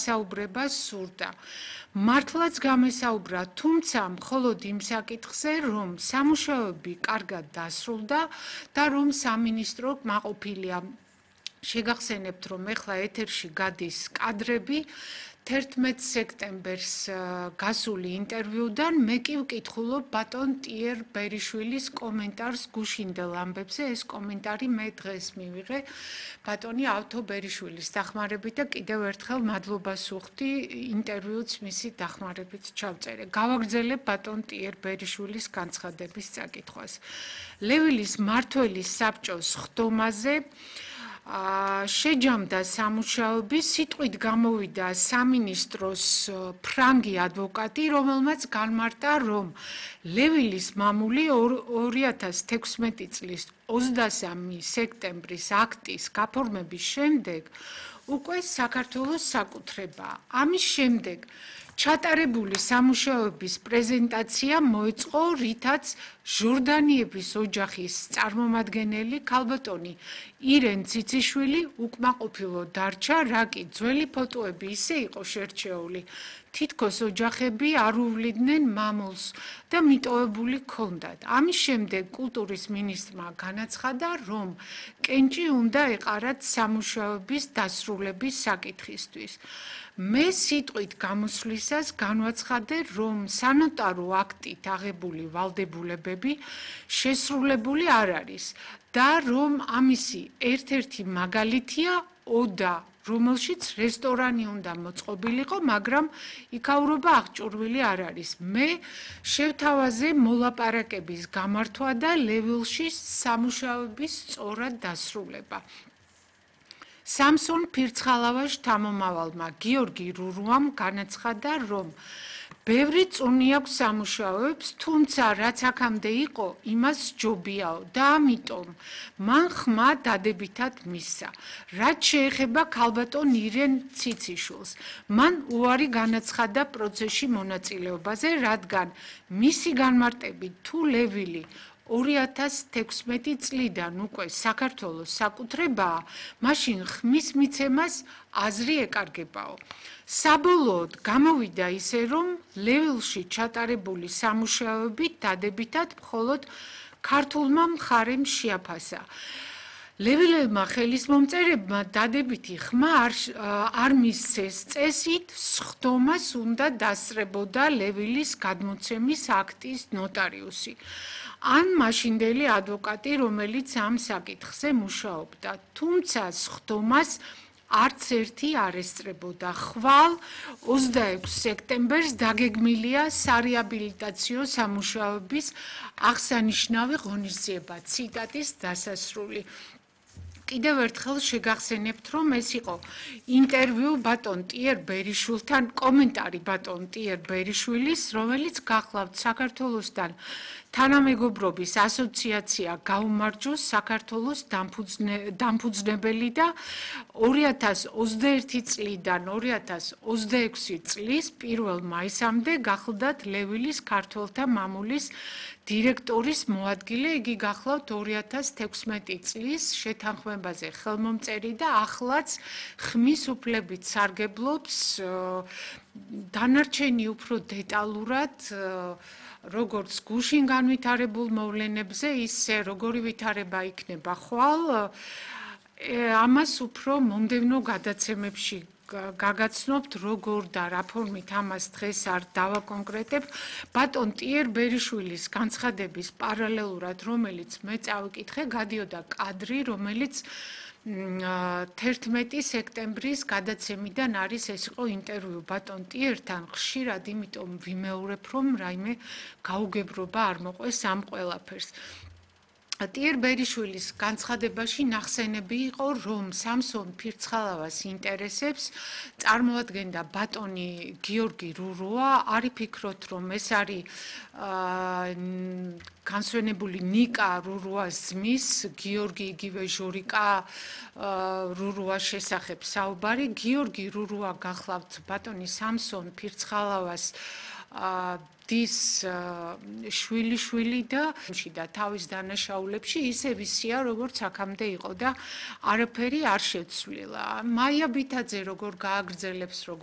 გასაუბრება სურდა. მართლაც გამესაუბრა, თუმცა მხოლოდ იმ საკითხზე, რომ სამუშაოები კარგად დასრულდა და რომ სამინისტრო კმაყოფილია. შეგახსენებთ, რომ ეხლა ეთერში გადის კადრები 11 სექტემბერს გასული ინტერვიუდან მე კი ვკითხულობ ბატონ ტიერ ბერიშვილის კომენტარს გუშინდელ ამბებზე. ეს კომენტარი მე დღეს მივიღე ბატონი ავთო ბერიშვილის დახმარებით და კიდევ ერთხელ მადლობას ვუხდი ინტერვიუც მისი დახმარებით ჩავწერე. გავაგრძელებ ბატონ ტიერ ბერიშვილის განცხადების წაკითხვას. ლევილის მმართველის საბჭოს ხდომაზე შეჯამდა სამუშაოები, სიტყვით გამოვიდა სამინისტროს ფრანგი ადვოკატი, რომელმაც განმარტა, რომ ლევილის მამული 2016 წლის 23 სექტემბრის აქტის გაფორმების შემდეგ უკვე საქართველოს საკუთრებაა. ამის შემდეგ ჩატარებული სამუშაოების პრეზენტაცია მოეწყო, რითაც ჟორდანიების ოჯახის წარმომადგენელი ქალბატონი ირენ ციციშვილი უკმაყოფილო დარჩა, რა კი ძველი ფოტოები ისე იყო შერჩეული, თითქოს ოჯახები არ უვლიდნენ მამულს და მიტოვებული ჰქონდათ. ამის შემდეგ კულტურის მინისტრმა განაცხადა, რომ კენჭი უნდა ეყარათ სამუშაოების დასრულების საკითხისთვის. მე სიტყვით გამოსვლისას განვაცხადე, რომ სანოტარო აქტით აღებული ვალდებულებები შესრულებული არ არის და რომ ამისი ერთ-ერთი მაგალითია ოდა, რომელშიც რესტორანი უნდა მოწყობილიყო, მაგრამ იქაურობა აღჭურვილი არ არის. მე შევთავაზე მოლაპარაკების გამართვა და ლევილში სამუშაოების სწორად დასრულება. სამსონ ფირცხალავას შთამომავალმა გიორგი რურუამ განაცხადა, რომ ბევრი წუნი აქვს სამუშაოებს, თუმცა რაც აქამდე იყო, იმას ჯობიაო და ამიტომ მან ხმა დადებითად მისცა. რაც შეეხება ქალბატონ ირენ ციციშვილს, მან უარი განაცხადა პროცესში მონაწილეობაზე, რადგან მისი განმარტებით თუ ლევილი 2016 წლიდან უკვე საქართველოს საკუთრებაა, მაშინ ხმის მიცემას აზრი ეკარგებაო. საბოლოოდ გამოვიდა ისე, რომ ლევილში ჩატარებული სამუშაოები დადებითად მხოლოდ ქართულმა მხარემ შეაფასა. ლევილებმა ხელისმომწერებმა დადებითი ხმა არ მისცეს წესით, სხდომას უნდა დასწრებოდა ლევილის გადმოცემის აქტის ნოტარიუსი. ან მაშინდელი ადვოკატი, რომელიც ამ საკითხზე მუშაობდა, თუმცა სხდომას არც ერთი არ ესწრებოდა. ხვალ 26 სექტემბერს დაგეგმილია სარეაბილიტაციო სამუშაოების აღსანიშნავი ღონისძიება. ციტატის დასასრული. კიდევ ერთხელ შეგახსენებთ, რომ ეს იყო ინტერვიუ ბატონ ტიერ ბერიშვილთან, კომენტარი ბატონ ტიერ ბერიშვილის, რომელიც გახლავთ საქართველოსთან თანამეგობრობის ასოციაცია გაუმარჯოს საქართველოს დამფუძნებელი და 2021 წლიდან 2026 წლის 1 მაისამდე გახლდათ ლევილის ქართველთა მამულის დირექტორის მოადგილე. იგი გახლავთ 2016 წლის შეთანხმებაზე ხელმომწერი და ახლაც ხმის უფლებით სარგებლობს. დანარჩენი უფრო დეტალურად როგორც გუშინ განვითარებულ მოვლენებზე, ისე როგორი ვითარება იქნება ხვალ, ამას უფრო მომდევნო გადაცემებში გაგაცნობთ, როგორ და რა ფორმით ამას დღეს არ დავაკონკრეტებ. ბატონ ტიერ ბერიშვილის განცხადების პარალელურად, რომელიც მე წავიკითხე, გადიოდა კადრი, რომელიც 11 სექტემბრის გადაცემიდან არის. ეს იყო ინტერვიუ ბატონ ტიერთან. ხშირად იმიტომ ვიმეორებ, რომ რაიმე გაუგებრობა არ მოყვეს ამ ყველაფერს. ტიერ ბერიშვილის განცხადებაში ნახსენები იყო, რომ სამსონ ფირცხალავას ინტერესებს წარმოადგენდა ბატონი გიორგი რურუა. არ იფიქროთ, რომ ეს არის განსვენებული ნიკა რურუას ძმის, გიორგი იგივე ჟორიკა რურუას შესახებ საუბარი. გიორგი რურუა გახლავთ ბატონი სამსონ ფირცხალავას დის შვილი და თავის დანაშაულებში ისე ვისია, როგორც აქამდე იყო და არაფერი არ შეცვლილა. მაია ბითაძე როგორ გააგრძელებს, როგორ